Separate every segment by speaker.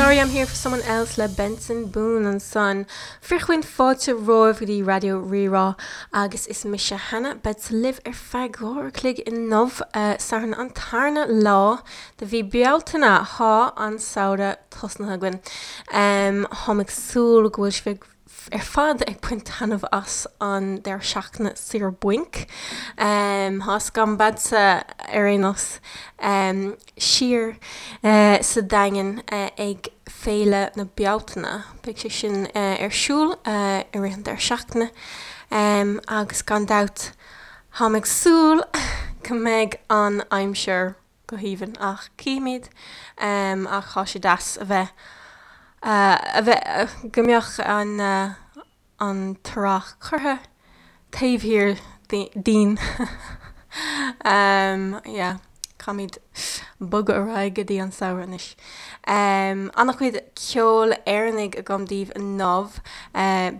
Speaker 1: Sorry I'm Here For Someone Else le Benson Boone ansan. Fear chaoin fáilte romhaibh go dtí Raidió Rí-Rá agus is mise Hannah. Beadsa libh ar feadh 2 uair a chloig inniu, Satharn an tarna lá de mhí Bealtaine. Thá an samhradh tosnaithe againn. Táim ag súil go bhfuil sibh ar fad ag baint taitneamh as an deireadh seachtaine saor bainc. Tá's agam beadsa ar aon nós siar sa Daingean ag Féile na Bealtaine. Beidh sé sin ar siúl i rith an deireadh seachtaine agus gan dabht táim ag súil go mbeidh an aimsir go haoibhinn ach cífimid ach tá sé deas a bheith a bheith go mbeadh an an t-earrach curtha taobh thiar dínn yeah caithfimid bogadh ar aghaidh go dtí an samhradh anois. An-chuid ceoil Éireannaigh agam daoibh inniu.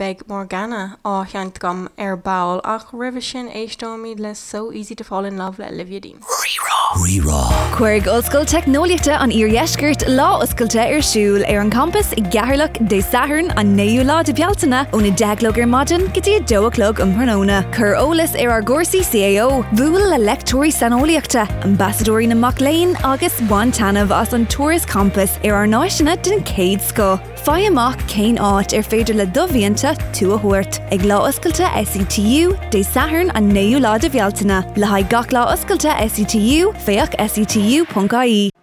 Speaker 1: Beidh Morgana á sheinnt agam ar ball ach roimhe sin éisteoimid le So Easy to Fall in Love le Olivia Dean.
Speaker 2: Rí-Rá.
Speaker 3: Cuirfidh Ollscoil Teicneolaíochta an Iardheiscirt lá oscailte ar siúl ar an champas i gCeatharlach Dé Sathairn an 9ú lá de Bhealtaine ón 10 a chlog ar maidin go dtí 2 a chlog um thráthnóna. Cuir eolas ar ár gcúrsaí CAO, buail le leicteoirí saineolaíochta, ambasadóirí na mac léinn agus bain taitneamh as an turas campais ar ár n-áiseanna den chéad scoth. Faigh amach cén áit ar féidir le do mhianta tú a thabhairt ag Lá Oscailte SETU, Dé Sathairn an 9ú lá de Bhealtaine. Le haghaidh gach lá oscailte SETU, féach setu.ie.